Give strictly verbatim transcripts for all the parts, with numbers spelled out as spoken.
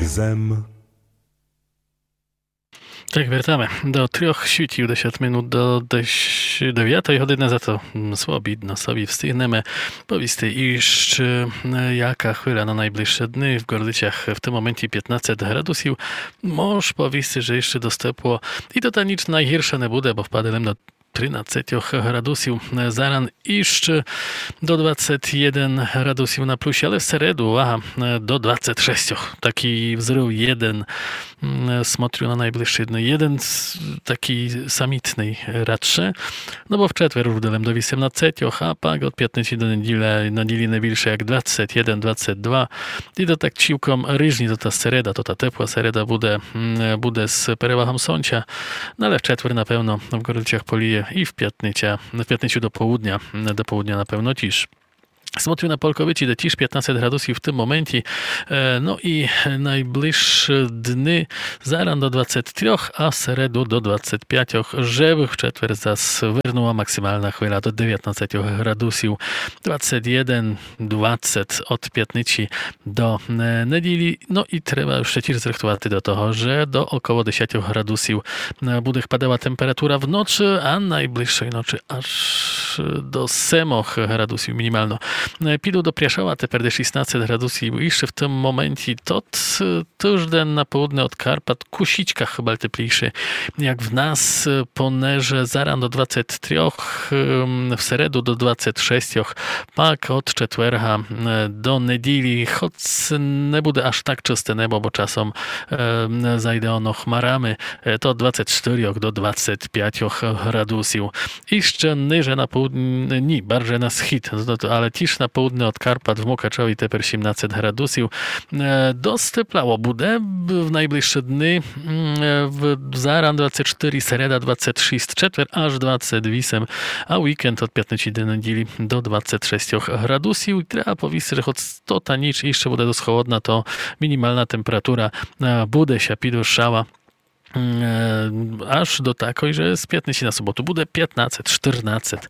Зем. Так, вертаме до трьох світів десять минут до десь девятої годины, зато, м, свобідно собі встигнеме повісти іщы, е, яка хвиля на найближшы дни. В Городицях в тым моменті пятнадцет градусів. Мож повісти, же іщы досить тепло. І то та ніч найгірша не буде, бо впаде лем до тринадцятьох градусів. Е, заран іщы до двадцять єден градусів на плюсі, але в середу, увага, е, до двадцять шестьох. Такій взрыв єден, м, смотрю на найближшы дни. Єден с-, такій самітный радше. Но бо в четвер уж буде лем до вісемнадцятьох, а пак од пятниці до неділі, неділі не більше як двадцять єден, двадцять два. І то так цілком ріжні, то та середа, то та тепла середа буде, м, буде з перевагом сонця. Но але в четвер на певно в Городицях поліє і в пятниця, в пятницю до полудня, до полудня на певно тіж. Смотрю на Полковиці, де тіж пятнадцять градусів в тым моменті. Е, но і найближшы дни заран до двадцять трьох, а в середу до двадцять пятьох, жебы в четвер зас вернула максимална хвиля до девятнадцятьох градусів, двадцять єден, двадцять од пятниці до, е, неділі. Но і треба іщы тіж зрыхтувати до того, же до около десятьох градусів, е, буде хпадала температура в ночы, а найближшой ночы аж до семох градусів мінімално. Е, піду до Пряшова, тепер де шістнадцять градусів. Іщы в тым моменті тот, е, тыжден на полудне од Карпат кусічка хыба теплійше, як в нас, е, понеже заран до двадцять трьох, ем, в середу до двадцять шестьох, пак од четверга, е, до неділі, хоц не буде аж так чысте небо, бо часом, е, зайде оно хмарами, е, то двадцять штырьох до двадцять пятьох градусів. Іщы ниже на полудне, ні, барже на схід, но то, але тіж на полудне од Карпат в Мукачові тепер сімнадцять градусів. Е, досить тепло буде в найближшы дни. М, е, в, заран двадцять штыри, середа двадцять шіст, четвер аж двадцять вісем, а вікенд од пятниці до неділі до двадцять шестьох градусів. Треба повісти, же хоц то та ніч іщы буде досить холодна, то мінімална температура, е, буде ся підвышала, м, е, аж до такой, же з пятниці на суботу буде пятнадцять, штырнадцять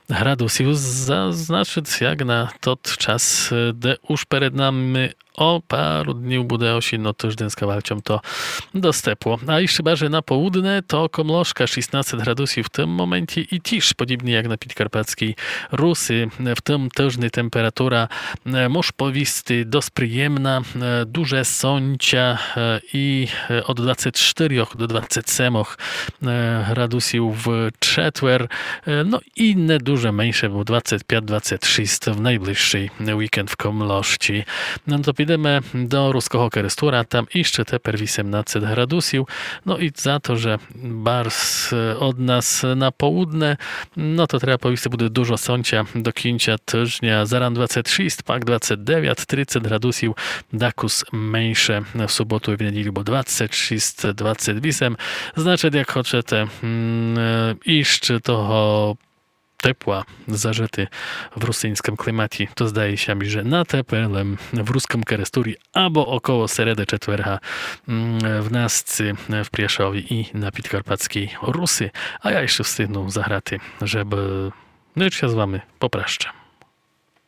градусів. Зазначыт, як на тот час, е, де уж перед нами о пару днів буде осінно тыждень з кавалцьом, то досить тепло. А іщы барже на полудне, то Комлошка, шістнадцять градусів в тым моменті і тіж подібні як на підкарпатьскій Руси, в тым тыжни температура, е, мож повісти, досить приємна, е, дуже сонця, е, і, е, од двадцять штырьох до двадцять семох, е, градусів в четвер, е, но і не дуже менше, бо двадцять пять, двадцять шіст в найближшый вікенд в Комлошці. Но то підеме до Руского Керестура, там іщы тепер вісемнадцять градусів. Но і за то, же барз, е, од нас на полудне, но то треба повісти, буде дуже сонця до кінця тыжня. Заран двадцять шіст, пак двадцять девять, тридцять градусів, дакус менше в суботу і в неділю, бо двадцять шіст, двадцять вісем. Значыт, як хочете, м, е, іщы того тепла зажыти в русиньскым кліматі, то здає ся мі, же на тепер лем в Рускым Керестурі або около середы, четверга, м, в Насці, в Пряшові і на підкарпатьскій Руси. А я іщы встигну заграти, жебы, но, іщы ся з вами попращам.